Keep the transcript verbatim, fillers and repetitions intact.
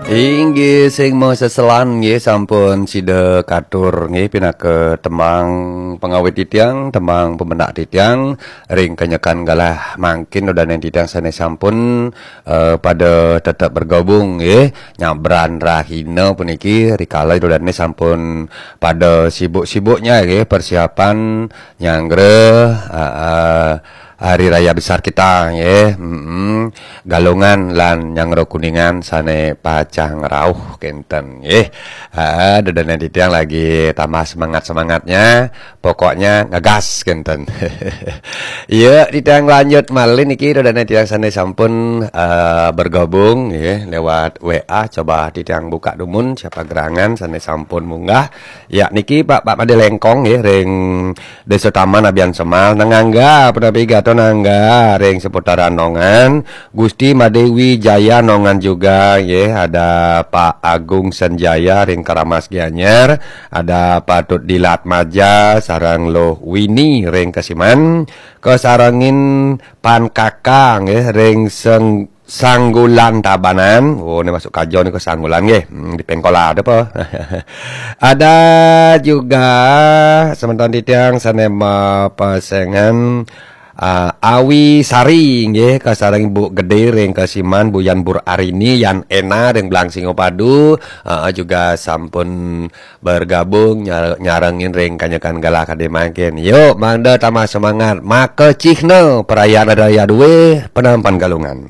Inggih sing maseselan nggih sampun sida katur nggih pinaka tembang pangawit titiang, tembang pemenak titiang ring kanyekan galah mangkin ida dané titiang sané sampun eh, pada tetap bergabung nggih nyabran rahina puniki rikala ida dané sampun pada sibuk-sibuknya nggih persiapan nyanggra eh, eh, Hari Raya Besar kita nggih. Mm-mm. Galungan lan nyanggra Kuningan sané pacang rauh kénten nggih. Ah, ida dané titiang lagi tambah semangat-semangatnya. Pokoknya ngegas kénten. Iya, titiang lanjut malih niki ida dané titiang sané sampun eh, bergabung nggih lewat W A. Coba titiang buka dumun siapa gerangan sané sampun munggah. Ya niki Pak Pak Madé Lengkong nggih ring Desa Taman Abian Semal, Nangangga, punapi Gato Nangga, ring seputaran Nongan, Gusti Madewi Jaya Nongan juga, nggih, ada Pak Agung Senjaya ring Keramas Gianyar, ada Patut Dilat Maja, sareng Luh Wini ring Kesiman, kasarengin Pan Kakang, nggih, ring Seng Sanggulan Tabanan. Oh, ini masuk kajo nih ke Sanggulan nggih. Hmm, di Pengkola ada apa? Ada juga semeton titiang sané mapasengan uh, Awi Sari nggih kasareng Bu Gedé ring Kesiman, Buyan Bur Arini, Yan Ena ring Blang Singopadu uh, juga sampun bergabung nyar- nyarengin ring kanyekan galah kadé mangkin. Yuk, mangda tambah semangat. Maka cihna perayaan ada ya duwe penampan galungan.